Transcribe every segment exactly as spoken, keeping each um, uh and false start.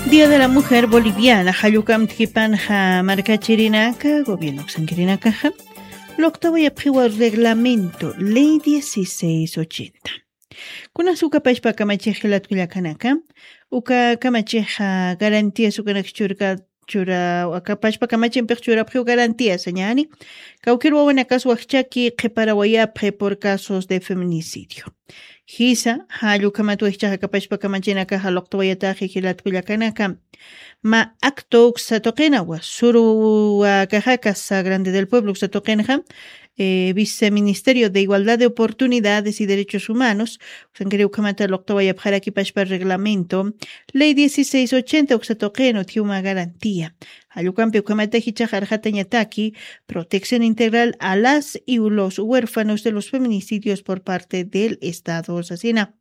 Día de la Mujer Boliviana, jallukam tkipanxa markachirinaka, gobierno sankirinakaxa, luqtawayapxiwa reglamento, ley dieciséis ochenta. Kunas uka pachpa kamachix jilat kullakanaka, uka kamachixa garantías ukanak churka, chura, uka pachpa kamachimpix churapxiw garantías, ñani, kawkir wawanakas wajchaki qhiparawayapxi por casos de feminicidio. Jisa, jallukhamat wajchaxa aka pachpa kamachinakaxa luqtawayataxi jilat kullakanaka. Ma acto uksa tuqinawa, suruwa kaxa Casa Grande del Pueblo uksa tuqinxa, eh, Viceministerio de Igualdad de Oportunidades y Derechos Humanos, uksankiri ukhamata luqtawayapxaraki pachpa reglamento, ley dieciséis ochenta uksa tuqin utjiw mä garantía. Jallukampi ukhamata jichax arxatañataki protección integral a las y los huérfanos de los feminicidios por parte del Estado sasina.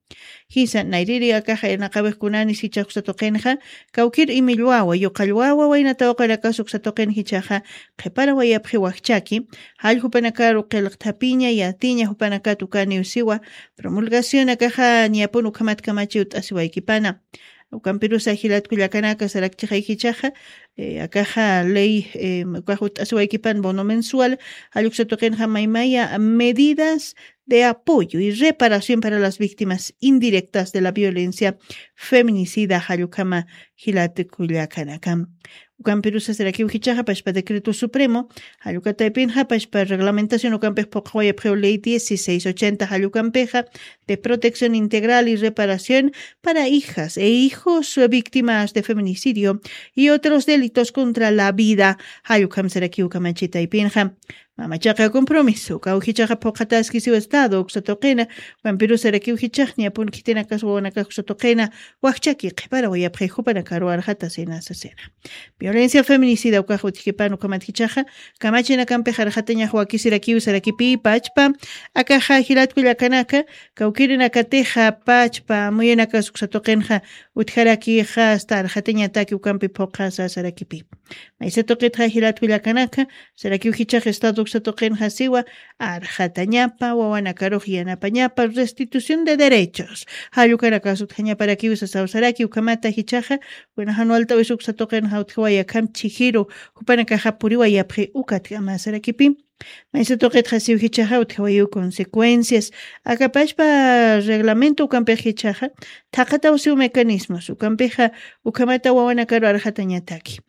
Jisa, nayriri akaxa irnaqawix kunanis jichax uksa tuqinxa, kawkir imillwawa, yuqallwawa, waynatawaqarakas uksa tuqin jichaxa, qhiparawayapxi wajchaki, jall jupanakaru qillqthapiña, yatiña, jupanakat ukaniw siwa, promulgación akaxa, ñapun ukhamat kamachiw t'asiwaykipana. Ukampirusa jilat kullakanaka sarakchixay jichaxa, eh, akaxa ley, eh, ukax ut'asiwaykipan bono mensual, jall uksa tuqinxa maymaya medidas de apoyo y reparación para las víctimas indirectas de la violencia feminicida, jallukhama jilat kullakanaka. Ukampirusa sarakiw jichaxa pachpa decreto supremo, jallukataypinxa pachpa reglamentación ukampix phuqawayapxiw ley dieciséis ochenta jallukampixa de protección integral y reparación para hijas e hijos víctimas de feminicidio y otros delitos contra la vida. Jallukham sarakiw kamachitaypinxa. Mamachaqa compromiso, kawkichaqa phuqataskisiw Estado uksa tuqina, ukampirusarakiw jichaqña pun khitinakas wawanakax uksa tuqina, wajchaki qhiparawayapxi jupanakaru arxatasina sasina. Violencia feminicida ukax utjipan ukhamat jichaqa, kamachinakampix arxatañax wakisirakiw sarakipi pachpa, akaxa jilat kullakanaka, kawkirinakatixa pachpa, muyunakas uksa tuqinxa, utjarakixa hasta arxatañataki ukampi phuqasa sarakipi. Maysa tuqitxa jilat kullakanaka, sarakiw jichax Estado uksa tuqinxa siwa, arxatañapa, wawanakarux yanapañapa, restitución de derechos. Jallukanakas utjañaparakiw sasaw saraki ukhamata jichaxa, kuna jan walt'awis uksa tuqinxa utjawayakam chijiru, jupanakaxa puriwayapxi ukatkama sarakipi. Maysa tuqitxa siw jichaxa utjawayiw consecuencias. Akapashpa reglamento ukampix jichaxa, thaqataw siw mecanismos, ukampixa ukhamata wawanakaru arxatañataki.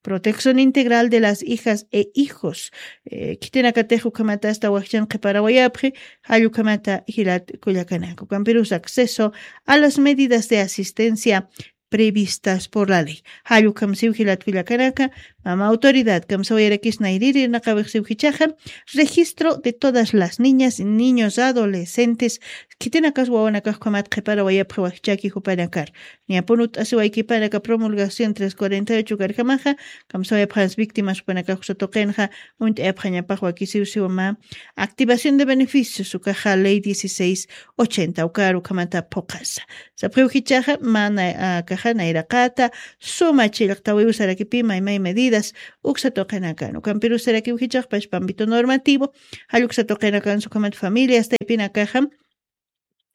Protección integral de las hijas e hijos. Eh, khitinakatix ukhamata asta wajchan qhiparawayapxi, jall ukhamata jilat kullakanaka. Ukampirus acceso a las medidas de asistencia previstas por la ley. Jall ukham siw jilat kullakanaka, mama autoridad kamsawayarakis nayriri irnaqawix siw jichaxa, registro de todas las niñas, niños, adolescentes, khitinakas wawanakax ukhamat qhiparawayapxi wajchaki jupanakar. Ñapun ut'asiwaykipanaka promulgación tres cuarenta y ocho karkamaxa, kamsawayapxans víctimas jupanakax uksa tuqinxa, uñt'ayapxañapax wakisiw siwa mä, activación de beneficios, ukaxa ley dieciséis ochenta, ukaru ukhamata phuqasa. Sapxiw jichaxa, mä na-, akaxa nayraqata, suma chillqtawiw sarakipi maymay medidas, uksa tuqinakan. Ukampirus sarakiw jichax pachpa ámbito normativo, jall uksa tuqinakan ukhamat familias taypinakaxa,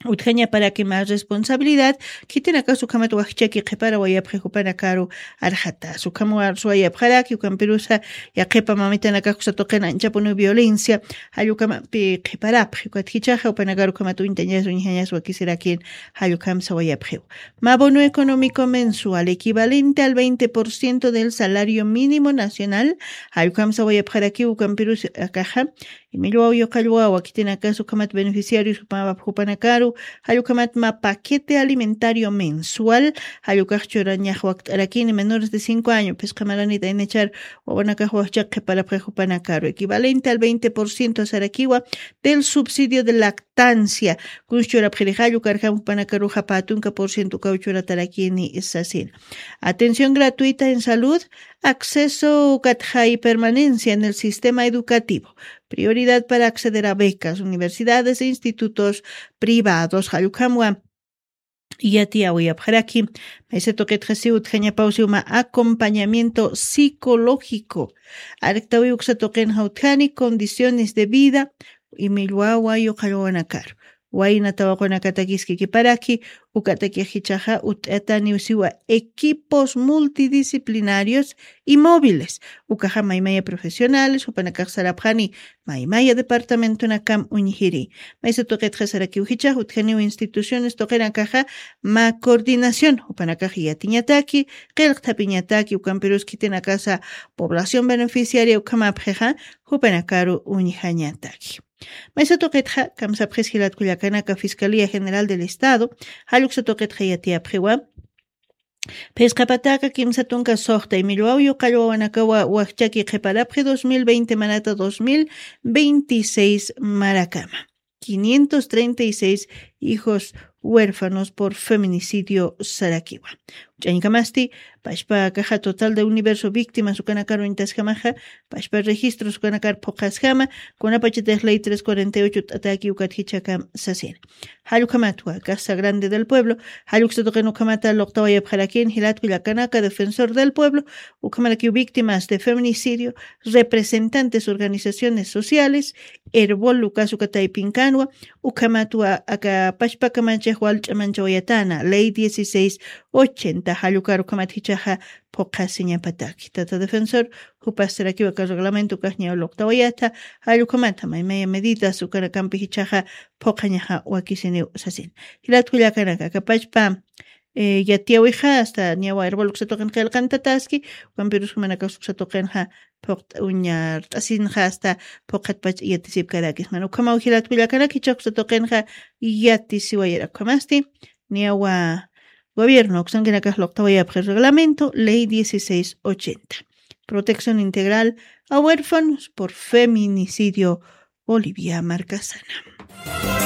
utjañaparaki mä responsabilidad, khitinakas ukhamat wajchaki qhiparawayapxi jupanakaru arxatas. Ukham warsuwayapxaraki, ukampirusa yaqhipa mamitanakax uksa tuqin anchapuniw violencia, jall ukhamampi qhiparapxi, ukat jichaxa jupanakaru ukhamat uñtañas, uñjañas wakisirakin, jall ukham sawayapxiw. Mä bono económico mensual equivalente al veinte por ciento del salario mínimo nacional, jall ukham sawayapxaraki, ukampirusa akaxa, Imillwaw yuqallwawa, khitinakas ukhamat beneficiarios jupa-, jupanakaru, jall ukhamat mä paquete alimentario mensual, jall ukax churañax wakt'arakini menores de cinco años, phisqa maranit aynachar wawanakax wajchak qhiparapxi jupanakaru, equivalente al veinte por ciento sarakiwa del subsidio de lactancia. Kuns churapxiri jall ukarjam jupanakaruxa pä tunka por ciento ukaw churatarakini sasina. Atención gratuita en salud, acceso ukatxa y permanencia en el sistema educativo. Prioridad para acceder a becas, universidades e institutos privados. Jall ukhamwa yatiyawayapxaraki, maysa tuqitxa siw utjañapaw siw mä acompañamiento psicológico. Arktawï uksa tuqinxa utjani condiciones de vida, imillwawa yuqallwawanakar. wayna tawaqunakatakiskikiparaki. Ukatakix jichhaxa ut'ataniw siwa equipos multidisciplinarios y móviles. Ukaxa maymaya profesionales jupanakax sarapxani maymaya departamentunakam uñjiri. Maysa tuqitxa sarakiw jichhax utjaniw instituciones tuqinakaxa mä coordinación jupanakax yatiñataki, qillqthapiñataki ukampirus khitinakasa población beneficiaria ukhamapxixa jupanakaru uñjañataki. Maysa tuqitxa kamsapxis jilatkullakanaka fiscalía general del estado jalluksa tuqitxa yatiyapxiwa. Phisqa pataka kimsa tunka suxta imillwaw yuqallwawanakawa wajchaki qhiparapxi dos mil veinte manata dos mil veintiséis marakama. Quinientos treinta y seis hijos huérfanos por feminicidio sarakiwa. Ch'añkamasti pashpa caja total de universo víctimas ukanakar uñtasjamaxa pashpa registros ukanakar phuqasjama. Kunapachatix ley tres cuarenta y ocho t'ataki ukatjichakam sasina. Jallukhamatwa caja grande del pueblo jalluksa tuqin ukhamata luqtawayapxarakin jilatku llakanaka defensor del pueblo, ukhamarakiw víctimas de feminicidio, representantes organizaciones sociales, erbol ukas ukataypinkanwa. Ukhamatwa aka pashpakamachax walch'amanchawayatana ley dieciséis ochenta jallukar ukhamat jichhaxa phuqhasiñapataki tata defensor. Jupastarakiw aka reglamento ukaxñaw luqtawayata jallukhamata maymaya medidas ukanakampi jichhaxa phuqhañaxa wakisiniw sasin. Jilatku llakanaka aka pashpa yatiyawixa asta ñawa erbol uksa tuqin qillqantataski. Ukampirus jumanakax uksa tuqinxa phuqt uñart'asinxa asta phuqhatpach yatisipkarakisman ukhamaw jilatku llakanak jichhax uksa tuqinxa yatisiwayara ukhamasti. Ñawa gobierno uksankinakax luqtawayapxi reglamento ley dieciséis ochenta, protección integral a huérfanos por feminicidio. Bolivia markasana.